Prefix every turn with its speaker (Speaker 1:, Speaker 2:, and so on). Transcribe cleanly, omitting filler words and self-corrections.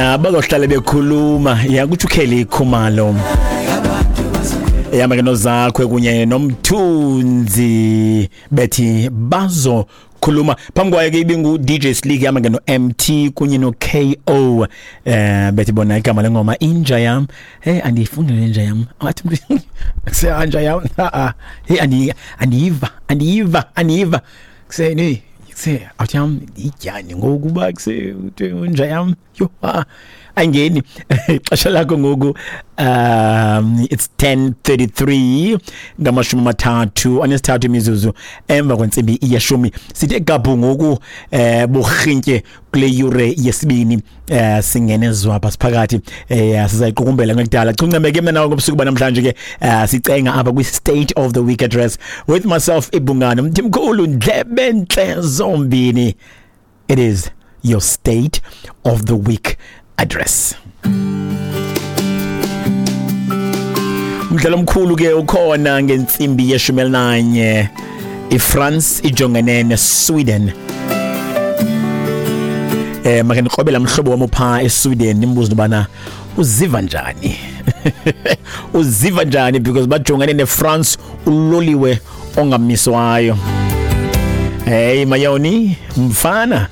Speaker 1: Bazohlala bekhuluma ya kutsho uKelly Khumalo ehamba ke noZakwe kunye noMthunzi bethi bazokhuluma. Phambi kwayo ke ibingu DJ Slick ihamba ke no-MT kunye no-KO, bethi bona igama lengoma inja yam. Hey, andiyifundi le nja yam, athi umntu sehanja yam, a hey, andiyiva andiyiva andiyiva kuseni kuse athi yam ityani ngokuba kuse inja yam yho, ayingeni. Ixesha lakho ngoku it's 10:33, 33 imizuzu emva kwentsimbi yeshumi. Sithe gabhu ngoku burhintye kule yure yesibini, singene zwapha siphakathi, sizayiqukumbela ngekudala chuncemeke mna nawe ngobusuku banamhlanje ke. Sicenga apha kwi-State of the Week Address with myself, ibungane Mthimkhulu, ndlebe ntle zombini. It is your State of the Week Address. Umdlalo omkhulu ke ukhona ngentsimbi yeshumi elinanye, iFrance ijongene neSweden. Make ndikrobela mhlobo wam upha eSweden, ndimbuze ubana uziva njani, uziva njani, because bajongene neFrance, uloliwe ongamiswayo. Hey mayoni mfana.